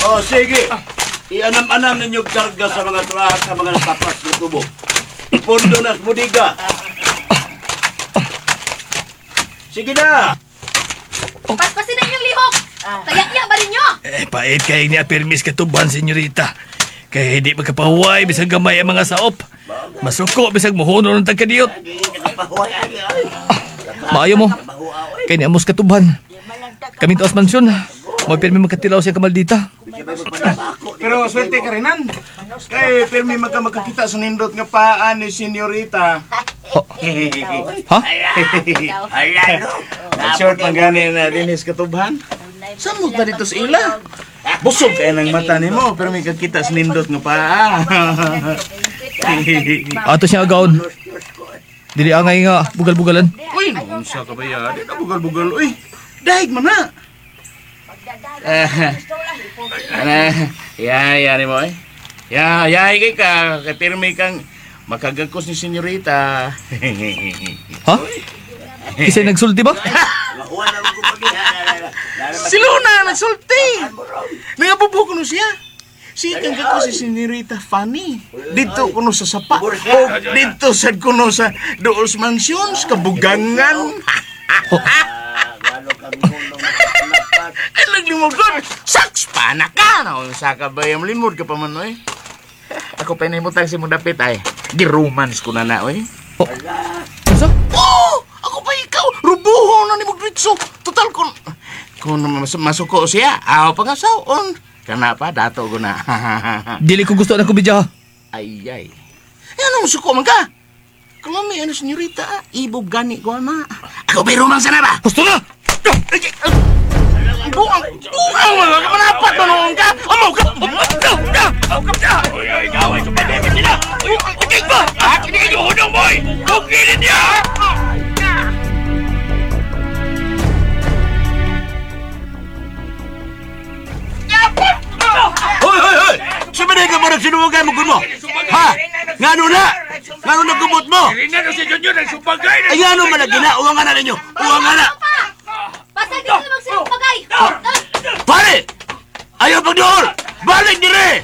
Oh, sige. Ianam-anam ninyo karga sa mga truck sa mga natapas ng tubo. Ipondo na sa budiga. Sige na! Paspasin na inyong lihok! Kaya ba ninyo? Eh, pait kay niya permis katuban, senyorita. Kaya hindi magkapahuway, bisag gamay ang mga saop. Masuko, bisag muhuno ng tagkadiyot. Maayo mo. Kay niya amos katuban. Kami tuas mansyon. Mo pirmi magkatilaw siya kamaldita. Pero swerte ka rin, nan. Kay pirmi magka makakita sa nindot nga paa ni senyorita. Ha? Short man gani na dinis katubhan. Saan mo ba dito sa ila? Busog kay ng mata nimo pero may kakita sa nindot nga paa. Ato siya agaon. Dili angay nga bugal-bugalan. Uy, unsa ka ba ya? Di ka bugal-bugal uy. Dahig man na. Eh, ana, ya ya ni mo eh. Ya, ya kay ka kay pirmi kang makagagkos ni senyorita. Ha? Kisay nagsulti ba? Si Luna nagsulti. Nangabubo kuno siya. Siya kang gagkos si senyorita Fanny. Dito kuno sa sapa. O dito sad kuno sa Doos Mansions, kabugangan. Ay, naglimod doon. Saks pa na ka. Naunsa ka ba yung limod ka pa man, oy. Ako pa inahimutang si mong dapit, ay. Giromance ko na na, oy. Unsa? Oh! Ako pa ikaw! Rubuho na ni Mugritso! Total, kung masuko siya, aw pangasaon. Kana pa, dato ko na. Dili ko gusto na kubidya. Ay, ay. Eh, ano masuko man ka? Kalami, ano, senyorita, ah. Ibog gani ko, ama. Ako pa romance na ba? Gusto na! Ay, ay, ay. Buang! Buang! Mga kamanapat na noon ka! Amaw ka! Uy, uy, ikaw ay sumademe sila! Uy, uy, ba? Hunong boy! Tugilin niya! Hoy, hoy, hoy! Suminay ka mo ng sinuwagay mo mo! Ha? Ngano na? Ngano na gumot mo? Ay, ngano malagi na? Uwang nga na ninyo! Uwang nga na! Basta dito na magsilang pagay! Pare! Ayaw pagduol! Balik dire!